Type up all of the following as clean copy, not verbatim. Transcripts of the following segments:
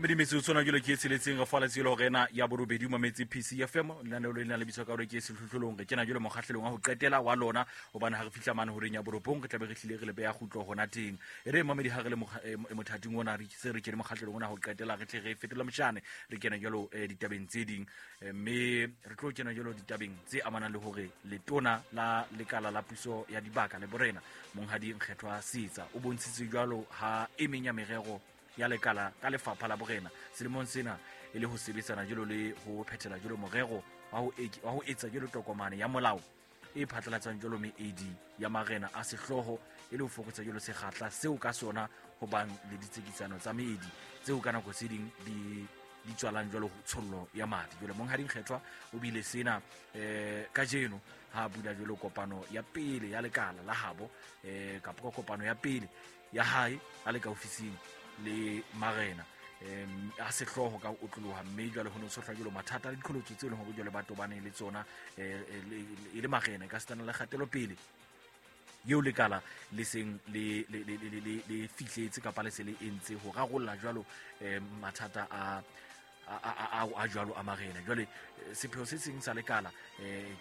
Mamedi metsotso na jalo ke e tsheletseng re faletse le hore ena ya borobedi o mametse PCFM lenaneo le lena le bitswa ka hore ke sehlohlolong. Re kena jalo mokgahlelong wa ho qetela wa lona, hobane ha re fihla mane horeng ya borobong re tlabe re hlile re le beya kgutlo hona teng. E re mamedi ha re le mothating ona, re se re kene mokgahlelong ona ho qetela, re tle re fetola motjhane, re kene jalo ditabeng tse ding. Mme re tlo kena jalo ditabeng tse amanang le hore letona la lekala la puso ya dibaka le borena Monghadi Nkgethwa Seetsa o bontshitse jwalo ha e meng ya merero ya lekala ka lefapha la borena selemong sena e le ho sebetsana jalo le ho phethela jalo morero wa ho etsa jalo tokomane ya molao e phatlalatsang jalo meedi ya marena a sehlooho e le ho fokotsa jalo sekgahla seo ka sona ho bang le ditsekisano tsa meedi tseo ka nako tse ding di tswalang jalo tshollo ya madi. Jwale Monghadi Nkgethwa o bile sena kajeno ha bula jalo kopano ya pele ya lekala la habo, kapa ka kopano ya pele ya hae a le ka ofising le marena a sehlooho ka ho otloloha. Mme jwale ho ne ho tshohlwa jalo mathata le diqholotso tseo e leng hore jwale ba tobaneng le tsona e le marena, ka setana le kgatelopele eo lekala le seng le fihletse kapa le se le entse ho rarolla jwalo mathata a jwalo a marena. Jwale sepheo se seng sa lekala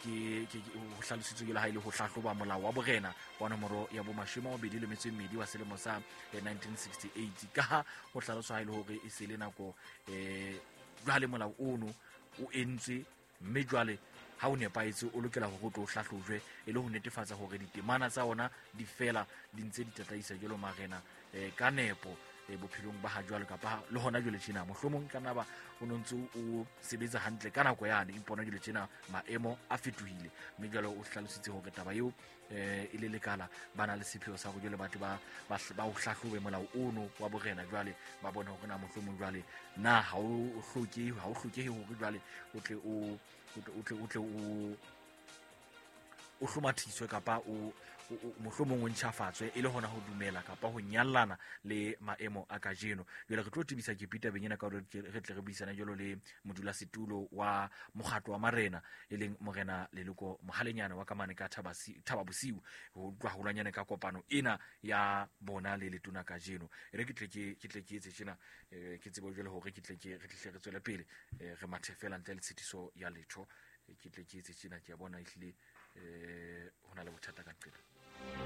ke ho hlalositswe jwalo ha e le ho hlahloba molao wa borena wa nomoro ya bo 22 wa selemo sa 1968, ka ha ho hlaloswa ha e le hore e se le nako jwale molao ono o entswe, mme jwale ha o nepahetse o lokela hore o tlo hlahlojwe e le ho netefatsa hore ditemana tsa ona di fela di ntse di tataisa jwalo marena ka nepo bophelong ba ha jwale kapa le hona jwale tjena. Mohlomong ka naba o no ntse o sebetsa hantle ka nako yane, ipona jwale tjena maemo a fetohile. Mme jwale o hlalositse hore taba eo e le lekala ba na le sepheo sa hore jwale batho ba o hlahlobe molao ono wa borena, jwale ba bone hore na mohlomong jwale na ha o hlokehe hore jwale o tle o hlomathiswe kapa o mohlomong o ntjhafatswe e le hona ho dumela kapa ho nyallana le maemo a kajeno. Jwale re tlo tebisa ke tabeng ena ka hore re tle re buisane jwalo le modulasetulo wa mokgatlo wa marena e leng Morena Leloko Mohalenyana wa kamane ka Thaba Bosiu, ho utlwa haholwanyane ka kopano ena ya bona le letona kajeno. E re ke tle ke etse tjena, ke tsebe jwale hore ke tle ke re tle re tswele pele, re mathe fela ntle le tshitiso ya letho. Ke tle ke etse tjena, ke a bona ehlile ho na le bothata ka nqena.